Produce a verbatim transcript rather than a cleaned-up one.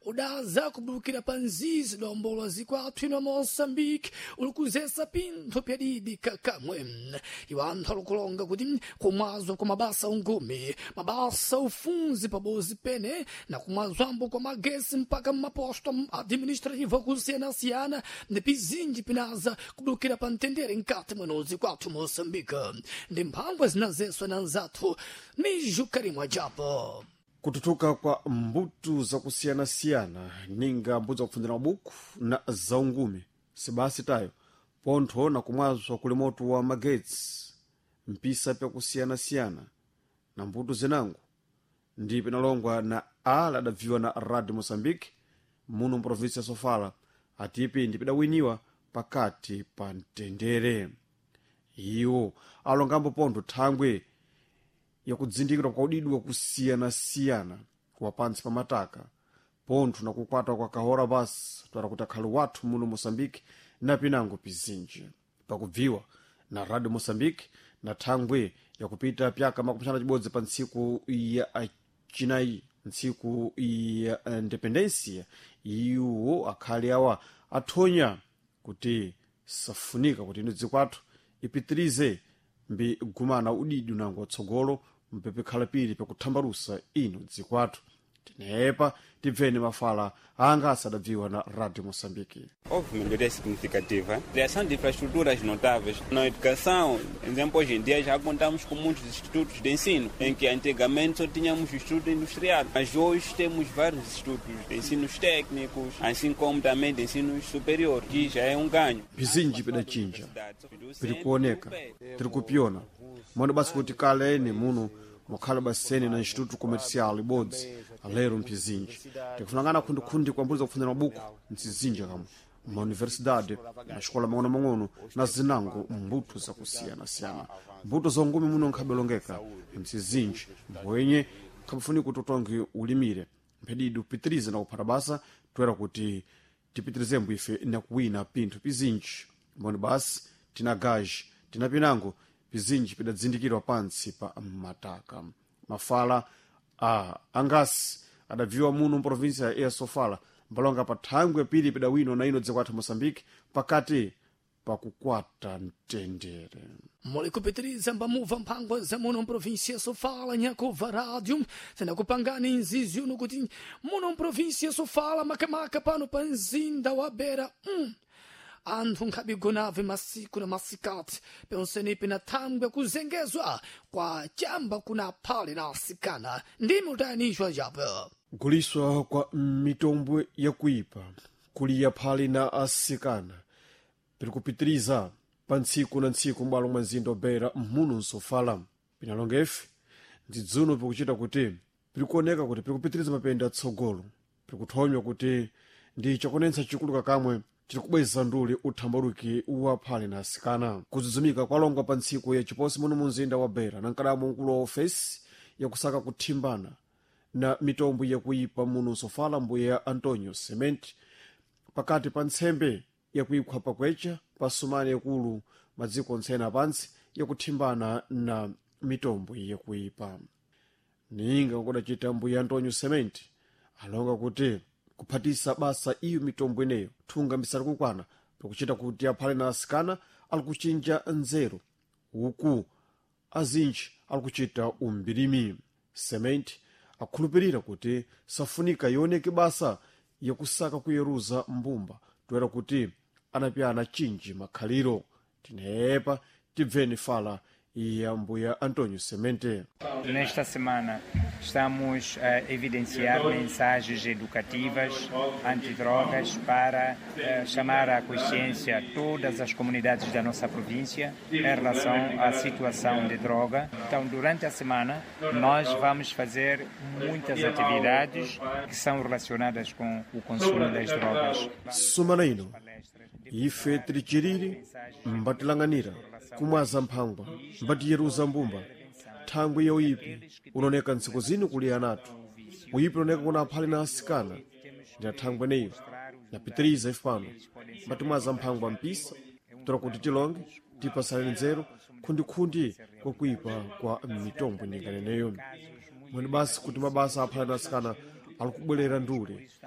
Udaza kubulukira pa nzizi dombolwa zikwathu ino Moçambique ulikuzesa pinthu pyadidi kakamwe. Iwo anthu alikulonga kuti kumwazwa kwa mabasa ungumi, mabasa ufunzi pabozi pene na kumwazwambo kwa magesi mpaka mmaposto administrativo akusiyana-siyana ndi pizinji pinaza kubulukira pa mtendere mkati mwenozi kwathu Moçambique. Ndi mphangwa zinazeswa na nzathu Miju Karimwa Japo. Kututuka kwa mbuto zakusiyana-siyana, ninga mbuto zakupfundzira mabuku na zaungumi, sibasi tayo pontho na kumwazwa kuli moto wa magetsi mpisa pyakusiyana-siyana na mbuto zinango ndi pinalongwa na ala adabviwa na Radio Moçambique muno mprovinsi ya Sofala, atipi ndi pidawiniwa pakati pa mtendere. Iwo alongambo pontho thangwe yakudzindikira kwa udidi wakusiyana-siyana wa pantsi pa mataka, pontho na kukwata kwa kahora basi twara kuti akhali wathu muno Moçambique na pinango pizinji. Pakubviwa na Radio Moçambique na thangwe yakupita pyaka makumi axanu na cibodzi pa ntsiku ya cinayi, ntsiku ya independencia, iwo akhali awa athonya kuti safunika kuti ino dziko athu ipitirize mbi gumana udidi unango watsogolo mpepekhala pili pakuthambalusa ino dziko athu. Tinepa tibveni mafala anga asadabviwa na Radio Moçambique. Houve melhoria significativa. Criação de infraestruturas notáveis. Na educação, por exemplo, hoje em dia já contamos com muitos institutos de ensino, em que antigamente só tínhamos instituto industrial, mas hoje temos vários institutos de ensinos técnicos, assim como também de ensino superior, que já é um ganho. Pizinji pidachinja, piri kuoneka, tiri kupiona mwano basi kuti kale ene muno mukhala basene na Instituto Comercial ibodzi, alero mphizinji tikufunangana khundikhundi kwa mbuto zakupfundzira mabuku mtsizinji kamwe mauniversidade, maxikola mang'ono-mang'ono na zinango mbuto zakusiyana-siyana. Mbuto za ungumi muno nkhabelongeka mtsizinji mbwenye nkhabufunika kuti utonge ulimire mphedidi upitirize na kuphata basa toera kuti tipitirizembo ife na kuwina pinthu pizinji. Mboni basi tina gaji, tina pinango pizinji pidadzindikirwa pantsi pa mataka. Mafala a angasi adabviwa muno mprovinsia ya Sofala mbalonga pa thangwe pili pidawinwa na ino dziko athu Moçambique pakati pakukwata mtendere. Muli kupitiriza mbamuva mphangwa za muno mprovinsia Sofala nyakuva rádio tinakupangani nzizi uno kuti muno mprovinsia Sofala, makamaka pano pa mzinda wa Beira, mm. anthu nkhabigonave masiku na masikati ponsenipi na thangwe kuzengezwa kwa chamba kuna phale na asikana. Ndimi utayanishwa japo. Kuliswa kwa mitombwe yakuipa kuliya phali na asikana piri kupitiriza pa ntsiku na ntsiku m'bwalo mwa mzinda wa muno nsofala. Pinalonga ife ndidzuno pikuchita kuti pirikuoneka kuti pirikupitiriza mapenda atsogolo, pirikuthonywa kuti ndi chakonetsa chikulu kakamwe chiri kubweza nduli uthambaluki wa phali na asikana. Kudzudzumika kwalongwa pa ntsiku ya chiposi muno mu mzinda wa Beira na mkadamo mkulu wa ofesi yakusaka kuthimbana na mitombo yakuipa muno nsofala, mbuya Antonio Cement, pakati pa ntsembe yakuikhwa pakwecha pa sumani yakulu madziko ontsene apantsi yakuthimbana na mitombo yakuipa. Ninga kudacita mbuya Antonio Cement alonga kuti kuphatisa basa iyo mitombo ineyo thunga misali kukwana pakuchita kuti aphale na asikana ali kuchinja nzeru uku azinji ali kuchita umbirimi. Cement akhulupirira kuti safunika ioneke basa yakusaka kuyeruza mbumba toera kuti anapyana chinji makhaliro. Tinepa tibveni fala ya mbuya Antonio Semente. Nesta semana estamos a evidenciar mensagens educativas antidrogas para eh, chamar à consciência todas as comunidades da nossa província em relação à situação de droga. Então, durante a semana, nós vamos fazer muitas atividades que são relacionadas com o consumo das drogas. Sumana ino ife tili chiriri mbatilanganira kumwaza mphangwa mbatiyeruza mbumba. Thangwi ya uyipi unaoneka ntsiku zino kuli anathu, uyipi unaoneka kuna aphali na asikana ndi athangwi eneyo napitiriza ife pano mbatimwaza mphangwa mpisa tola kuti tilonge tipasaleni nzeru khundikhundi kwakuipa kwa mitombo ininganeneyo. Mwene basi kuti mabasa aphali na asikana ali kubwerera ndule.